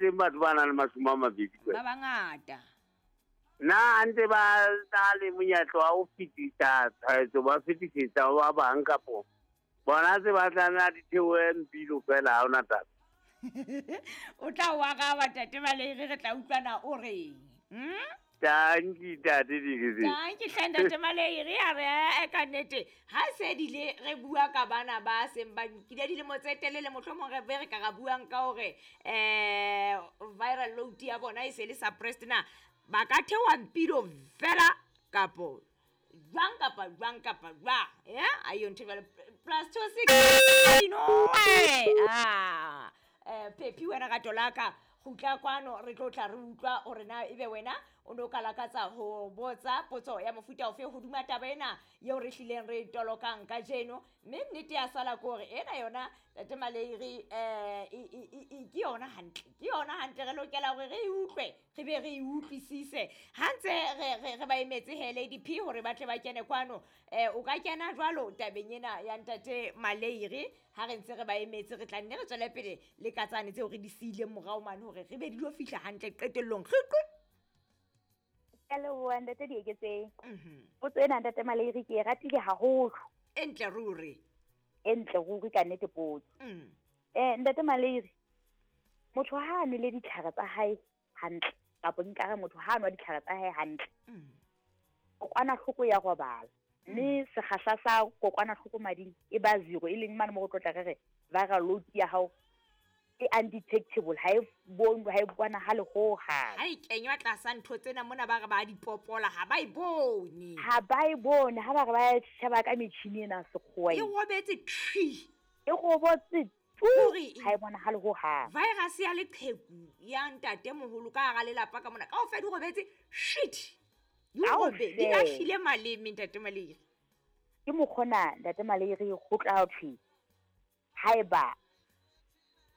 teng batho ba nang le 20. Ba bangata. Na ntse ba na le monyetla wa ho fetisa tshwaetso, ba fetisetsa ho ba bang kapo bona se ba tla nna di theohe mpilo fela, ha hona taba. O tla o araba Ntate Maleire, re tla utlwana o reng. Tanki Ntate Dikese. Tanki hle Ntate Maleire, a re ee ka nnete ha se dile re bua ka bana ba seng ba nkile dilemo tse telele, mohlomong re be re ka ra buang ka hore viral load ya bona e se le suppressed, na ba ka theoha mpilo fela kapo jwang kapa jwang kapa jwang? Ya ayo ntho jwale +26 ah Phephi wena rato la ka kgutla kwano, re tlo tla re utlwa hore na ebe wena o ne o ka lakatsa ho botsa potso ya mofuta ofe hodima taba ena eo re hlileng re tolokang kajeno. Mme nnete ya sala ke hore ena yona Ntate Maleire ke yona hantle, ke yona hantle, re lokela hore re e utlwe re be re e utlwisise. Ha ntse re ba emetse he Lady P hore ba tle ba kene kwano, o ka kena jwalo tabeng ena ya Ntate Maleire. Ha re ntse re ba emetse, re tla nne re tswele pele le ka tsane tseo re di siileng morao mane hore re be di lo fihla hantle qetellong. Ke a leboha Ntate Dieketseng. Potso ena Ntate Maleire ke e ratile haholo. E ntle ruri. E ntle ruri ka nnete potso. Ntate Maleire, motho ha a nwele ditlhare tsa hae hantle, kapa nkare motho ha a nwa ditlhare tsa hae hantle, kokwanahloko ya robala. Mme sekgahla sa kokwanahloko mading e ba 0, e leng mane mo go tlotla re re viral load ya hao e undetectable, ha e bonwe, ha e bonahale hohang. Ha e kenywa tlasa ntho tsena mona ba re ba di popola, ha ba e bone. Ha ba e bone, ha ba re ba sheba ka metjhini ena sekgowa E robetse thwi. E robotse tu, ha e bonahale hohang. Virus ya leqheku ya ntate moholo ka hara lelapa ka mona, kaofela di robetse shit. Di di lahlile maleme Ntate Maleire. Ke mokgona Ntate Maleire go tla thwe haeba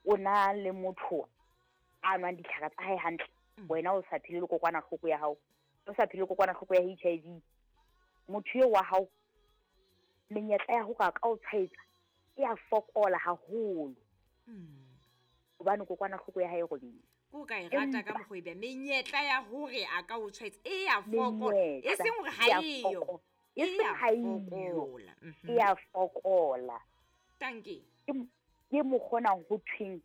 o na le motho a nwang ditlhare tsa hae hantle, wena o sa phele le kokwanahloko ya hao, o sa phele le kokwanahloko ya HIV, motho eo wa hao menyetla ya ho ka o tshwaetsa e a fokola haholo. Hobane kokwanahloko ya hae e robetse. Ko ka e rata ka mokgwa ebe menyetla ya hore a ka o tshwaetsa e a fokola, e seng hore ha eyo, e seng ha eyo, e a fokola. Tanki. Ke mokgona ho thweng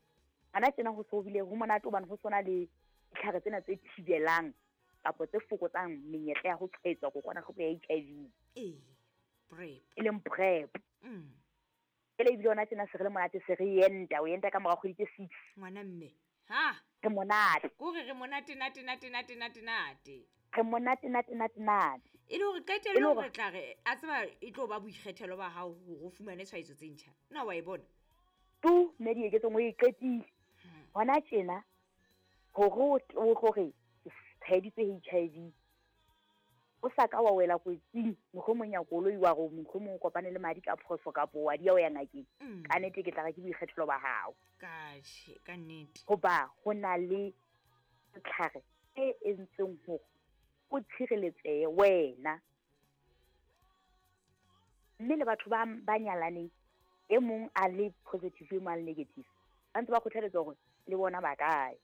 ana tjena ho so bile ho monate hobane ho sona le ditlhare tsena tse thibelang kapa tse fokotsang menyetla ya ho tshwaetsa kokwanahloko ya HIV. Ee, PrEP. E leng PrEP. Jwale ebile hona tjena se re le monate, se re enta, o enta ka mora kgwedi tse 6. Ngwana mme. Ha. Re monate. Kore re monate nate nate nate nate nate. Re monate nate nate nate. E le hore qetellong re tla re a tseba e tlo ba boikgethelo ba hao hore o fumane tshwaetso tse ntjha. Na wa e bona? Tu mme Dieketseng o e qetile. Hona tjena hore o hore tshwaeditswe HIV, o sa ka wa wela kotsing, mohlomong ya koloi wa re mohlomong o kopane le madi ka phoso kapo wa di ya o ya ngakeng. Ka nnete ke tla re ke boikgethelo ba hao. Ka nnete. Hoba ho na le setlhare se entsweng hore o tshireletsehe wena. Mme le batho ba nyalaneng, e mong a le positive, e mong a le negative, ba ntse ba kgothaletswa hore le bona ba kae.